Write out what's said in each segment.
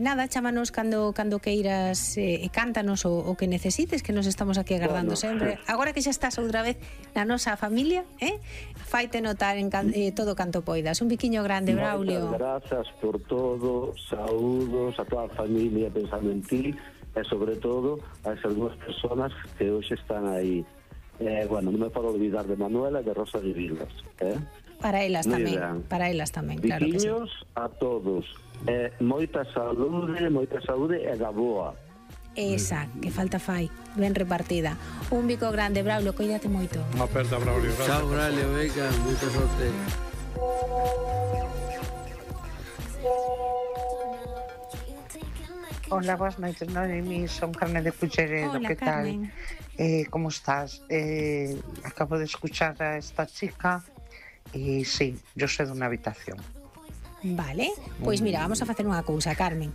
Nada, chámanos cando queiras e cántanos o que necesites, que nos estamos aquí agardando sempre. Agora que xa estás outra vez na nosa familia, faite notar en todo canto poidas. Un biquiño grande, Braulio. Moitas grazas por todo, saúdos a toda a familia pensando en ti e sobre todo a esas dúas personas que hoxe están aí. Bueno, non me podo olvidar de Manuela e de Rosa de Vilas. Para elas tamén, claro que sí. Biquiños a todos. Moita saúde e da boa. Esa, que falta fai, ben repartida. Un bico grande, Braulio, coídate moito. Unha aperta, Braulio. Chao, Braulio, venga, moita sorte. Hola, boas noites, Noemi, son Carmen de Culleredo. Hola, ¿qué tal? Carmen. ¿Cómo estás? Acabo de escuchar a esta chica y sí, yo soy de una habitación. Vale, pois mira, vamos a facer unha cousa, Carmen.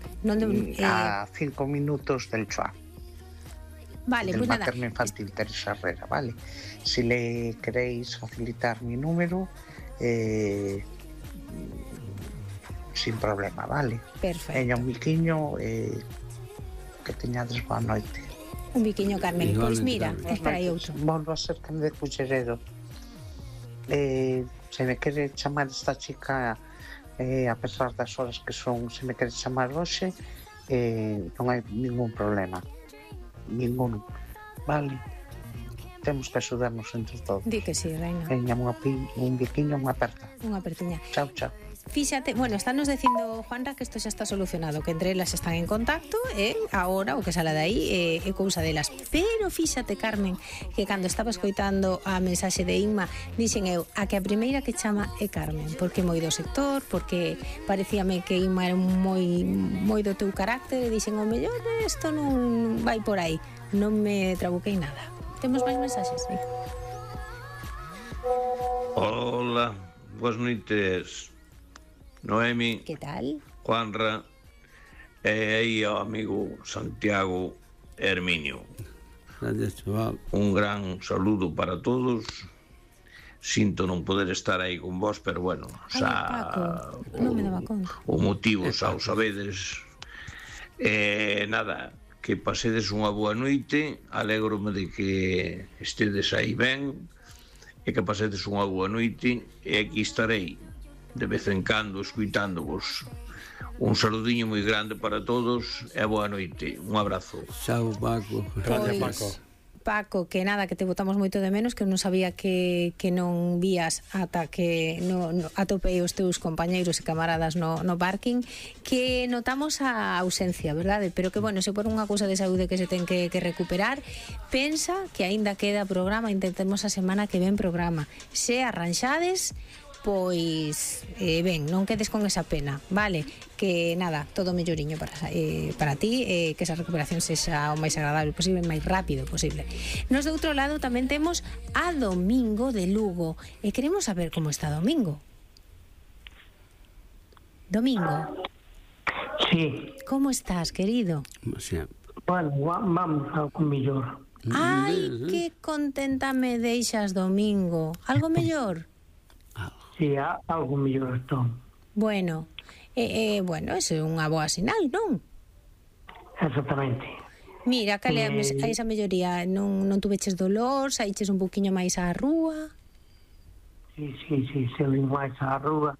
A 5 minutos del CHUA. Vale, del pois nada. materno infantil Teresa Herrera, ¿vale? Si le queréis facilitar mi número, sin problema, ¿vale? Perfecto. Ella un biquiño, que teñades boa noite. Un biquiño, Carmen. Pois mira, espera aí outro. Volvo a ser Carmen de Culleredo. Se me quere chamar esta chica, a pesar das horas que son, se me quere chamar hoxe, non hai ningún problema. Ningún. Vale? Temos que axudarnos entre todos. Di que sí, reina. Veña, un biquiño, unha aperta. Unha apertiña. Chao, chao. Fíxate, bueno, estános dicindo, Juanra, que isto xa está solucionado, que entre elas están en contacto, agora o que sala de aí é cousa delas. Pero fíxate, Carmen, que cando estaba escoitando a mensaxe de Inma, dixen eu, a que a primeira que chama é Carmen, porque moi do sector, porque parecíame que Inma era moi do teu carácter, e dixen, o mellor isto non vai por aí. Non me trabuquei nada. Temos máis mensaxes? Sí. Hola, boas noites, Noemi. Que tal? Juanra e aí ao amigo Santiago Herminio. Gracias, chaval. Un gran saludo para todos. Sinto non poder estar aí con vos, pero bueno, Paco, non me daba conta. O motivo xa o sabedes. Nada, que pasedes unha boa noite. Alégrome de que estedes aí ben e que pasedes unha boa noite, e aquí estarei de vez en cando escuitándovos. Un saludiño moi grande para todos e boa noite. Un abrazo. Chao, Paco. Gracias, Paco. Paco, que nada, que te botamos moito de menos, que non sabía que non vías ata que atopei os teus compañeiros e camaradas no parking, que notamos a ausencia, verdade? Pero que, bueno, se por unha cousa de saúde que se ten que recuperar, pensa que aínda queda programa, intentemos a semana que ven programa. Se arranxades, pois ben, non quedes con esa pena, vale? Que nada, todo melloriño para ti, que esa recuperación sexa o máis agradable posible, o máis rápido posible. Nos de outro lado tamén temos a Domingo de Lugo, e queremos saber como está Domingo. Domingo. Sí. Como estás, querido? Bueno, vamos algo mellor. Ai, que contenta me deixas, Domingo. Algo mellor? Sí, algo mellor estou. Bueno, bueno, eso é unha boa sinal, non? Exactamente. Mira, cale a esa melloría, non tuveches dolor, saíches un poquinho máis á rúa? Sí, saí máis á rúa.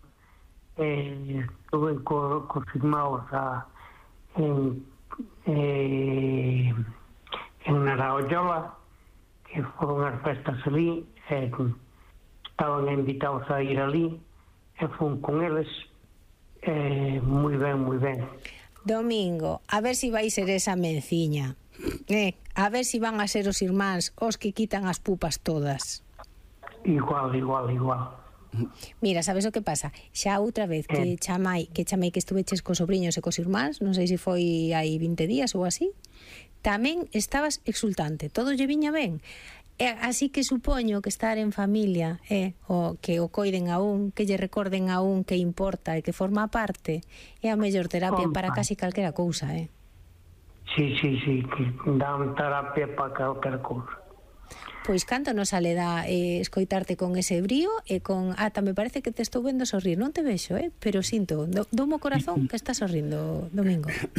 Estuve cos irmãos en Naraollola, que foron as festas ali, estaban invitados a ir ali, e fun con eles, moi ben, moi ben. Domingo, a ver si vai ser esa menciña, a ver si van a ser os irmáns os que quitan as pupas todas. Igual. Mira, sabes o que pasa? Xa outra vez que chamei que estuveches cos sobriños e cos irmáns, non sei se foi hai 20 días ou así, tamén estabas exultante, todo lle viña ben. Así que supoño que estar en familia o que o coiden a un, que lle recorden a un que importa e que forma parte, é a mellor terapia para casi calquera cousa, Sí, que dan terapia para calquera cousa. Pois canto nos sale da escoitarte con ese brío e con... me parece que te estou vendo sorrir, non te vexo, pero sinto, do mo corazón que estás sorrindo, Domingo.